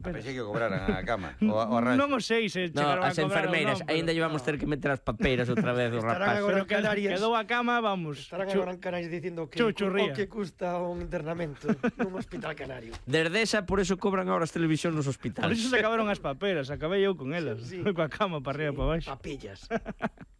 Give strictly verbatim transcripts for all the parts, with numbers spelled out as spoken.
Pensei que cobraran a cama o, o arranxo. Non o sei se No, chegaron a as cobrar enfermeiras, ou non, pero- aínda llevamos ter que meter as papeiras outra vez o Estarán rapaz. agora Pero quedou, Canarias. quedou a cama, vamos. Estarán chu- agora en Canarias dicindo que Chuchurría. o que custa un internamento nun hospital canario. Desde esa, por eso cobran ahora as televisións nos Por hospitales. iso se acabaron as paperas, acabei eu con elas. Sí, sí. Foi coa cama para arriba e para baixo. Papillas.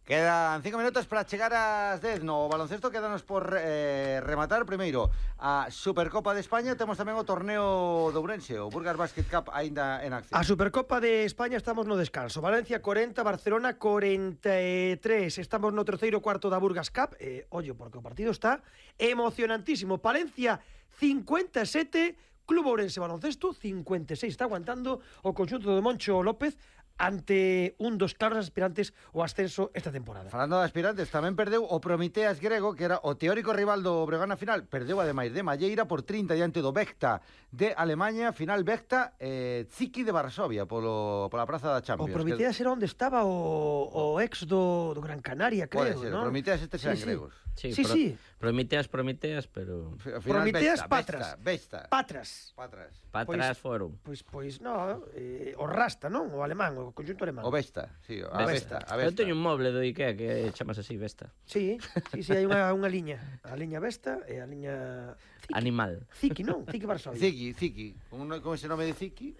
Quedan cinco minutos para chegar ás dez. No baloncesto quedanos por eh, rematar primeiro a Supercopa de España. Temos tamén o torneo de Ourense, o Burgas Basket Cup aínda en acción. A Supercopa de España estamos no descanso. Valencia cuarenta, Barcelona cuarenta e tres. Estamos no terceiro cuarto da Burgas Cup. Eh, ollo, porque o partido está emocionantísimo. Palencia cincuenta e sete, Club Ourense Baloncesto cincuenta e seis. Está aguantando o conxunto de Moncho López ante un dos claros aspirantes ao ascenso esta temporada. Falando de aspirantes, tamén perdeu o Prometeas grego, que era o teórico rival do Breogán na final. Perdeu ademais de Malleira por trinta diante do Vecta de Alemanha. Final Vecta, eh, Ziki de Varsovia polo, pola praza da O Champions. Prometeas era onde estaba o, o ex do, do Gran Canaria, creo, Pode ser, ¿no? o Prometeas estes eran Sí, sí. gregos. Sí, Sí, pro, sí. Promiteas, promiteas, pero Final Prometeas Vecta, Patras. Vecta, Patras. Patras. para Pois- atrás foron. Pois, pois, no, eh, o Rasta, non? O alemán, o conxunto alemán. O Vesta, sí, a Vesta, a Eu Vesta. teño un moble do IKEA que chamas así, Vesta. Sí, sí, sí, hai unha, unha liña. A liña Vesta e a liña... Animal. Ziki, non? Ziki Varsovia. Ziki, Ziki, con, con ese nome de Ziki.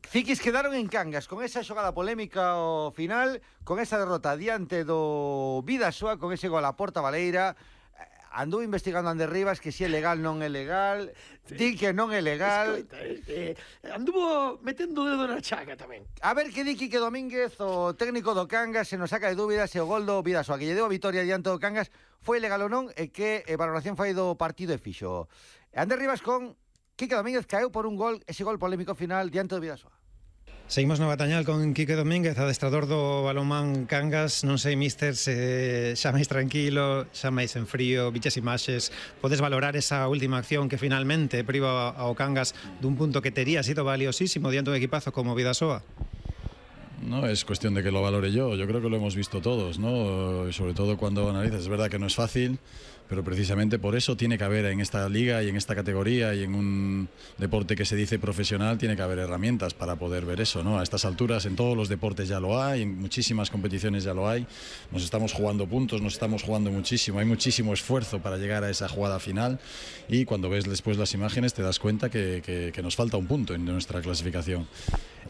Zikis quedaron en Cangas con esa xogada polémica ao final, con esa derrota diante do Vidasoa, con ese gol a Porta Baleira. Andou investigando Ander Rivas que si é legal, non é legal, di que non é legal. Escoita, eh, anduvo metendo o dedo na chaga tamén. A ver que di Quique Domínguez, o técnico do Cangas, se nos saca de dúbidas se o gol do Vidasoa que lle deu a vitoria diante do Cangas foi legal ou non e que eh, valoración fai do partido e fixo. Ander Rivas con Quique Domínguez caeu por un gol, ese gol polémico final diante do Vidasoa. Seguimos no Batañal con Quique Domínguez, adestrador do balonmán Cangas. Non sei, míster, se xa máis tranquilo, xa máis en frío, biches imaxes, podes valorar esa última acción que finalmente priva ao Cangas dun punto que tería sido valiosísimo diante dun equipazo como Vidasoa? No es cuestión de que lo valore yo, yo creo que lo hemos visto todos, ¿no? Y sobre todo cuando analizas, es verdad que no es fácil, pero precisamente por eso tiene que haber en esta liga y en esta categoría y en un deporte que se dice profesional, tiene que haber herramientas para poder ver eso, ¿no? A estas alturas en todos los deportes ya lo hay, en muchísimas competiciones ya lo hay, nos estamos jugando puntos, nos estamos jugando muchísimo, hay muchísimo esfuerzo para llegar a esa jugada final y cuando ves después las imágenes te das cuenta que, que, que nos falta un punto en nuestra clasificación.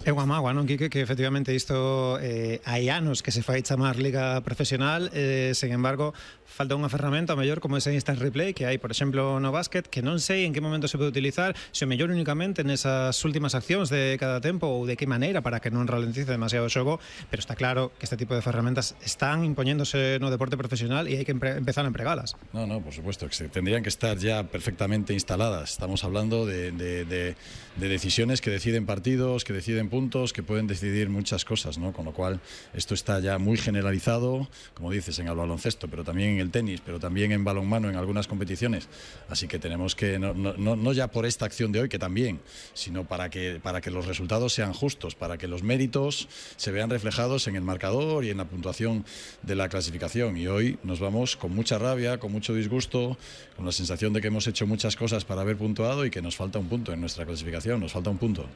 É unha mágoa, non, Quique, que efectivamente isto eh, hai anos que se fai chamar liga profesional, eh, sen embargo, falta unha ferramenta mellor como ese instant replay que hai, por exemplo, no básquet, que non sei en que momento se pode utilizar, se o mellor únicamente nesas últimas accións de cada tempo ou de que maneira para que non ralentice demasiado o xogo, pero está claro que este tipo de ferramentas están impoñéndose no deporte profesional e hai que empre empezar a empregalas. No, no, por supuesto, que se tendrían que estar ya perfectamente instaladas. Estamos hablando de, de, de, de decisiones que deciden partidos, que deciden puntos, que pueden decidir muchas cosas, ¿no? Con lo cual, esto está ya muy generalizado, como dices, en el baloncesto, pero también en el tenis, pero también en balonmano, en algunas competiciones. Así que tenemos que, no, no, no ya por esta acción de hoy, que también, sino para que, para que los resultados sean justos, para que los méritos se vean reflejados en el marcador y en la puntuación de la clasificación. Y hoy nos vamos con mucha rabia, con mucho disgusto, con la sensación de que hemos hecho muchas cosas para haber puntuado y que nos falta un punto en nuestra clasificación, nos falta un punto.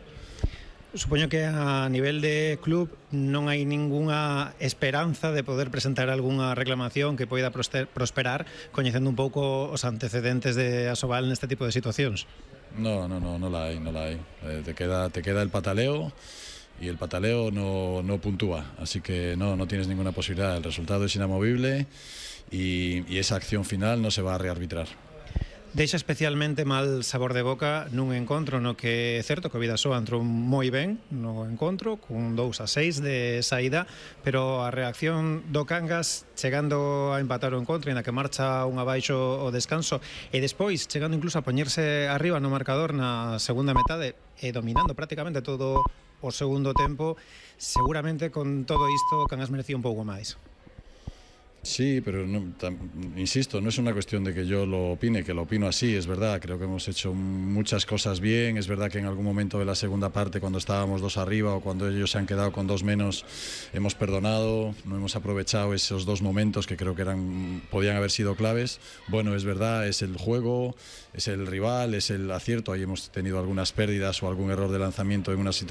Supoño que a nivel de club non hai ningunha esperanza de poder presentar algunha reclamación que poida prosperar, coñecendo un pouco os antecedentes de Asobal neste tipo de situacións. No, no, no, no la hay, no la hay. Eh, te queda, te queda el pataleo y el pataleo no, no puntúa, así que no, no tienes ninguna posibilidad. El resultado es inamovible y, y esa acción final no se va a rearbitrar. Deixa especialmente mal sabor de boca nun encontro no que é certo que o Vidasoa entrou moi ben no encontro, cun dous a seis de saída, pero a reacción do Cangas chegando a empatar o encontro en a que marcha un abaixo o descanso e despois chegando incluso a poñerse arriba no marcador na segunda metade e dominando prácticamente todo o segundo tempo, seguramente con todo isto Cangas merecía un pouco máis. Sí, pero no, tam, insisto, no es una cuestión de que yo lo opine, que lo opino así, es verdad, creo que hemos hecho muchas cosas bien, es verdad que en algún momento de la segunda parte, cuando estábamos dos arriba o cuando ellos se han quedado con dos menos, hemos perdonado, no hemos aprovechado esos dos momentos que creo que eran, podían haber sido claves. Bueno, es verdad, es el juego, es el rival, es el acierto, ahí hemos tenido algunas pérdidas o algún error de lanzamiento en una situación